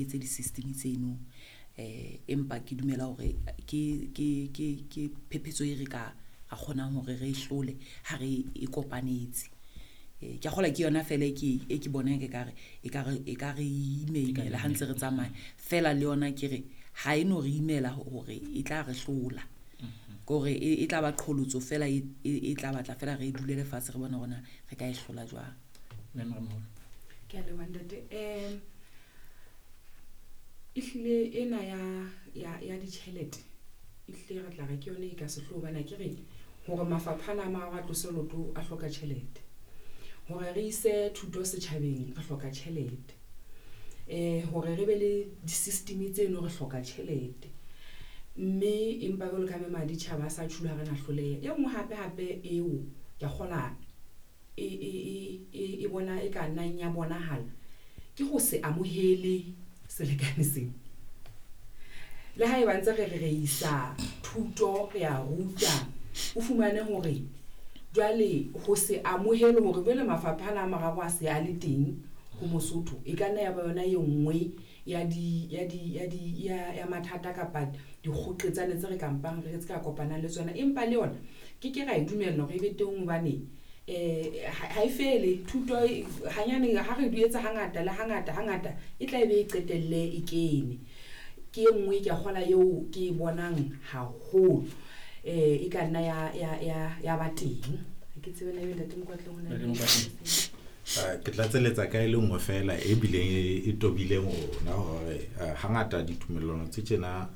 Etse di-system tseno empa ke dumela hore ke phephetso e re ka ra kgonang hore re hlole ha re e kopanetse. Ke a kgolwa ke yona fela e ke bonang ekare e ka re imela ha ntse re tsamaya. Feela le yona ke re ha e no re imela hore e tla re hlola. Ke hore e tla ba qholotso fela e tla batla fela re dule lefatshe re bone hore na re ka e hlola jwang. Ke a leboha ntate. Ehlile ena ya ditjhelete ehlile re tla re ke yona e ka sehlooho hobane akere hore mafapha ana a mararo a tlose loto a hloka tjhelete. Hore re ise thuto setjhabeng re hloka tjhelete. Hore re be le di-system tseno re hloka tjhelete. Mme empa jwalo ka maditjhaba a sa tjhulo ha re na hloleha. E nngwe hape hape eo ke a kgola e bona e ka nnang ya bonahala ke ho se amohele selekane sena. Le haeba ntse re re re isa thuto re a ruta, o fumane hore jwale ho se amohele hore jwale mafapha ana a mararo a se a le teng ho Mosotho e ka nna ya ba yona e nngwe ya di ya di ya di ya mathata kapa dikgoqetsane tse re ka mpang re tse ka kopanang le tsona. Empa le yona ke ke ra e dumella hore e be teng hobane ha e fele thuto hanyane ha re di etsa hangata le hangata hangata e tla be e qetelle e kene. Ke e nngwe ke a kgola eo ke e bonang haholo e ka nna ya ba teng. Ha ke tsebe na ebe ntate Mokwatleng ho na le Ke tlatseletsa ka e le nngwe fela e bileng e tobileng rona hore hangata ditumellano tse tjena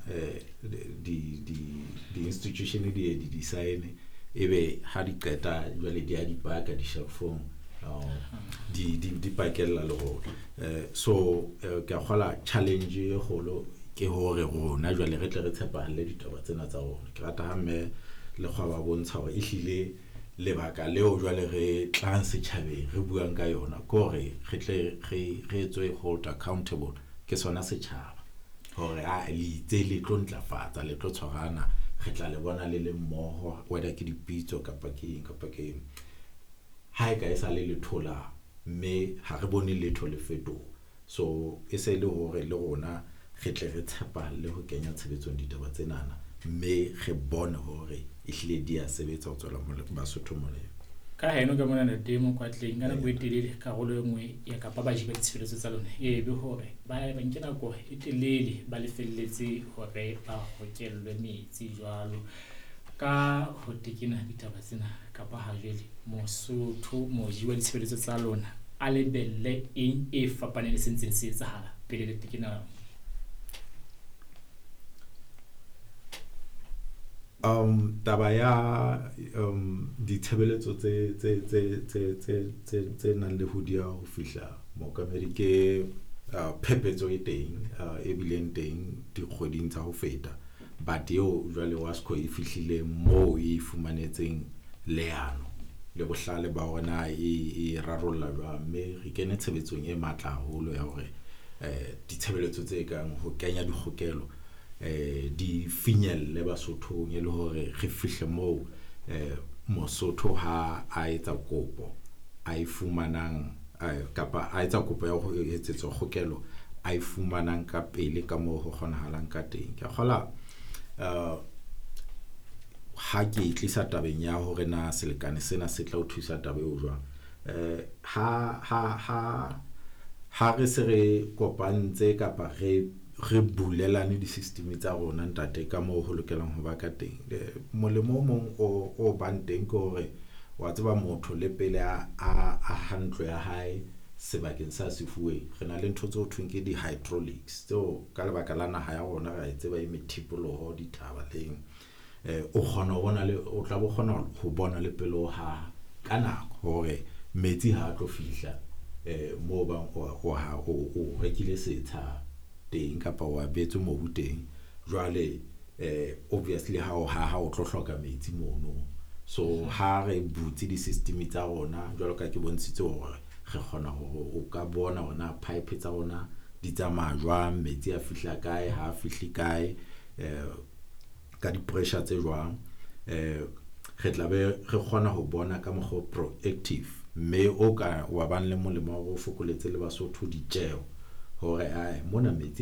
di-institution di ye di di-sign ebe ha di qeta jwale di a di paka di-shelf-ong di pakella le rona. So ke a kgola challenge e kgolo ke hore rona jwale re tle re tshepahalle ditaba tsena tsa rona. Ke rata ha mme Lekgwa ba bontsha hore ehlile lebaka leo jwale re tlang setjhabeng re buang ka yona ke hore re tle re etswe hold accountable ke sona setjhaba hore a le itse le tlo ntlafatsa le tlo tshwarana re tla le bona le le mmoho whether ke dipitso kapa ke eng kapa ke eng. Ha e ka e sa le lethola mme ha re bone letho le fetoha. So e se le hore le rona re tle re tshepahalle ho kenya tshebetsong ditaba tsenana mme re bone hore ehlile di a sebetsa ho tswela Basotho molemo. Ka heno ka mona ntate Mokwatleng ka nako e telele karolo e nngwe ya kapa baji ba ditshebeletso tsa lona e be hore ba nke nako e telele ba lefelletse hore ba hokellwe metsi jwalo. Ka ho tekena ditaba tsena kapa ha jwale Mosotho moji wa ditshebeletso tsa lona a lebelle eng e fapaneng le se ntseng se etsahala pele le tekena? Taba ya ditshebeletso tse nang le ho diya ho fihla mookamedi ke phephetso e teng e bileng teng dikgweding tsa ho feta, but eo jwale WASCO e fihlile moo e fumanetseng leano le bohlale ba hore na e rarolla jwang, mme re kene tshebetsong e matla haholo ya hore ditshebeletso tse kang ho kenya dikgokelo di finyelle Basothong e le hore re fihle moo Mosotho ha a etsa kopo a e fumanang kapa a etsa kopo ya ho etsetswa kgokelo a e fumanang ka pele ka moo ho kgonahalang ka teng. Ke a kgola ha ke e tlisa tabeng ya hore na selekane sena se tla o thusa taba eo jwang. Ha re se re kopantse kapa re bulelane di-system tsa rona ntate ka moo ho lokelang ho ba ka teng. Molemo o mong o bang teng ke hore wa tseba motho le pele a aha ntlo ya hae sebakeng sa se fuweng, re na le ntho tse ho thweng ke di-hydraulics tseo ka lebaka la naha ya rona ra e tseba e methipoloho dithaba leng. O kgona ho bona le o tla bo kgona ho bona le pele o haha ka nako hore metsi ha a tlo fihla moo bang o rekile setsha teng kapa o abetswe mobu teng. Jwale obviously ha o haha o tlo hloka metsi mono. So ha re butse di-system tsa rona jwalo ka ke bontshitse hore re kgona hore o ka bona hore na pipe tsa rona di tsamaya jwang, metsi a fihla kae, ha a fihle kae, ka di-pressure tse jwang. Re tla be re kgona ho bona ka mokgwa o proactive mme o ka wa bang le molemo wa hore o fokoletse le Basotho ditjeho hore ae mona metsi